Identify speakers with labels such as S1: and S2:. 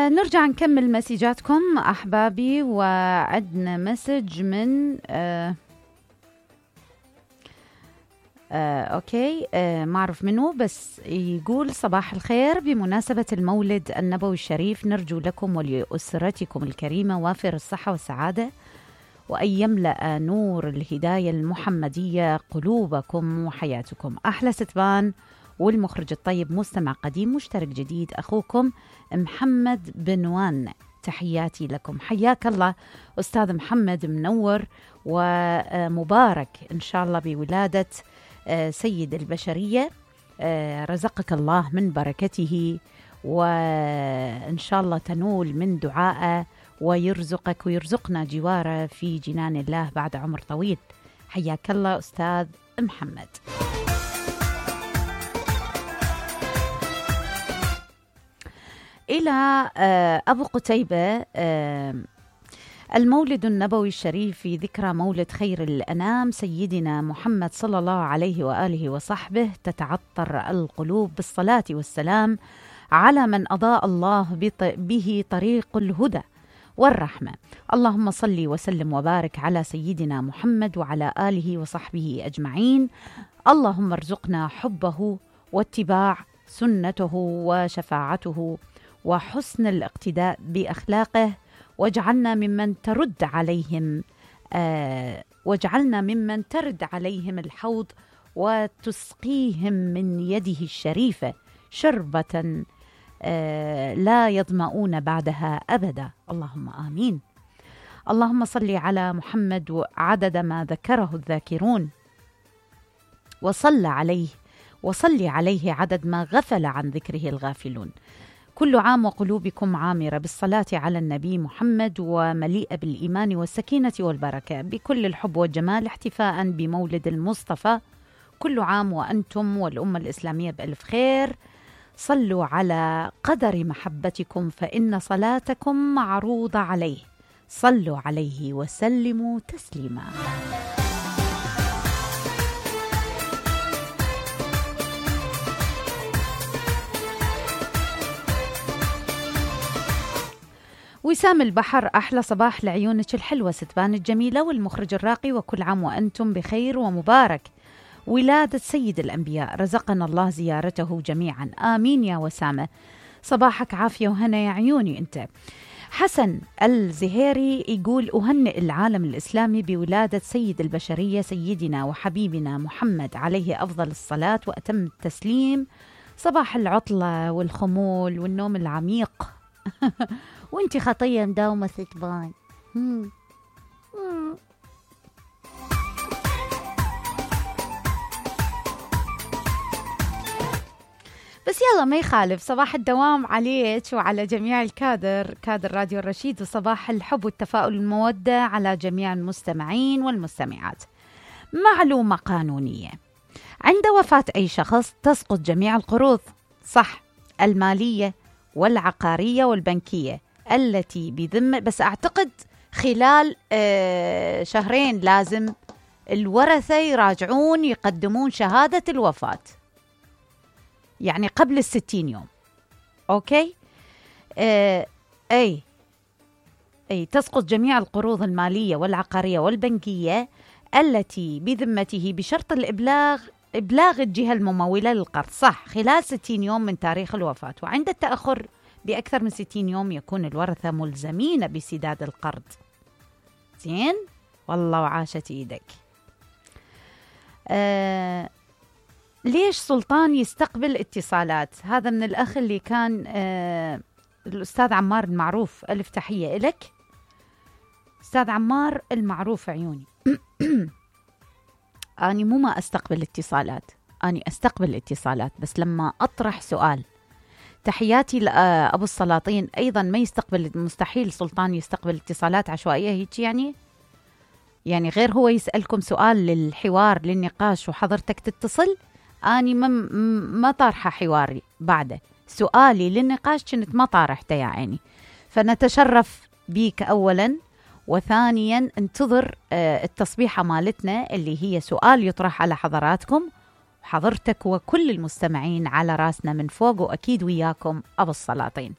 S1: نرجع نكمل مسيجاتكم أحبابي. وعدنا مسج من أوكي ما أعرف منه، بس يقول: صباح الخير، بمناسبة المولد النبوي الشريف نرجو لكم ولأسرتكم الكريمة وافر الصحة والسعادة، وأن يملأ نور الهداية المحمدية قلوبكم وحياتكم. أحلى ستبان والمخرج الطيب، مستمع قديم مشترك جديد، أخوكم محمد بنوان. تحياتي لكم. حياك الله أستاذ محمد، منور ومبارك إن شاء الله بولادة سيد البشرية. رزقك الله من بركته، وإن شاء الله تنول من دعائه ويرزقك ويرزقنا جواره في جنان الله بعد عمر طويل. حياك الله أستاذ محمد. إلى أبو قتيبة: المولد النبوي الشريف في ذكرى مولد خير الأنام سيدنا محمد صلى الله عليه وآله وصحبه، تتعطر القلوب بالصلاة والسلام على من أضاء الله به طريق الهدى والرحمة. اللهم صل وسلم وبارك على سيدنا محمد وعلى آله وصحبه أجمعين. اللهم ارزقنا حبه واتباع سنته وشفاعته وحسن الاقتداء بأخلاقه، واجعلنا ممن ترد عليهم الحوض وتسقيهم من يده الشريفة شربة لا يظمؤون بعدها أبدا. اللهم آمين. اللهم صل على محمد عدد ما ذكره الذاكرون، وصل عليه عدد ما غفل عن ذكره الغافلون. كل عام وقلوبكم عامرة بالصلاة على النبي محمد، ومليئة بالإيمان والسكينة والبركة، بكل الحب والجمال، احتفاء بمولد المصطفى. كل عام وأنتم والأمة الإسلامية بألف خير. صلوا على قدر محبتكم فإن صلاتكم معروضة عليه. صلوا عليه وسلموا تسليما. وسام البحر: أحلى صباح لعيونك الحلوة ستبان الجميلة والمخرج الراقي، وكل عام وأنتم بخير ومبارك ولادة سيد الأنبياء، رزقنا الله زيارته جميعا. آمين يا وسامة. صباحك عافية وهنا يا عيوني أنت. حسن الزهيري يقول: أهنئ العالم الإسلامي بولادة سيد البشرية سيدنا وحبيبنا محمد عليه أفضل الصلاة وأتم التسليم. صباح العطلة والخمول والنوم العميق وانتي خطية مداومة ستبان. بس يلا ما يخالف. صباح الدوام عليك وعلى جميع كادر راديو الرشيد، وصباح الحب والتفاؤل والمودة على جميع المستمعين والمستمعات. معلومة قانونية: عند وفاة أي شخص تسقط جميع القروض، صح، المالية والعقارية والبنكية التي بذمة، بس أعتقد خلال شهرين لازم الورثة يراجعون يقدمون شهادة الوفاة، يعني قبل 60 يوم. أوكي. أي تسقط جميع القروض المالية والعقارية والبنكية التي بذمته بشرط إبلاغ الجهة الممولة للقرض، صح، خلال 60 يوم من تاريخ الوفاة. وعند التأخر بأكثر من 60 يوم يكون الورثة ملزمين بسداد القرض. زين والله وعاشت إيدك. ليش سلطان يستقبل اتصالات؟ هذا من الأخ اللي كان الأستاذ عمار المعروف. ألف تحية إلك أستاذ عمار المعروف عيوني. أني مو ما أستقبل اتصالات، أني أستقبل اتصالات بس لما أطرح سؤال. تحياتي لأبو السلاطين أيضا ما يستقبل، مستحيل سلطان يستقبل اتصالات عشوائية هيك، يعني غير هو يسألكم سؤال للحوار للنقاش وحضرتك تتصل، أني ما طارحة حواري بعده، سؤالي للنقاش كنت ما طارحته يا عيني. فنتشرف بيك أولا، وثانيا انتظر التصبيحة مالتنا اللي هي سؤال يطرح على حضراتكم، حضرتك وكل المستمعين على راسنا من فوق، وأكيد وياكم أبو السلاطين.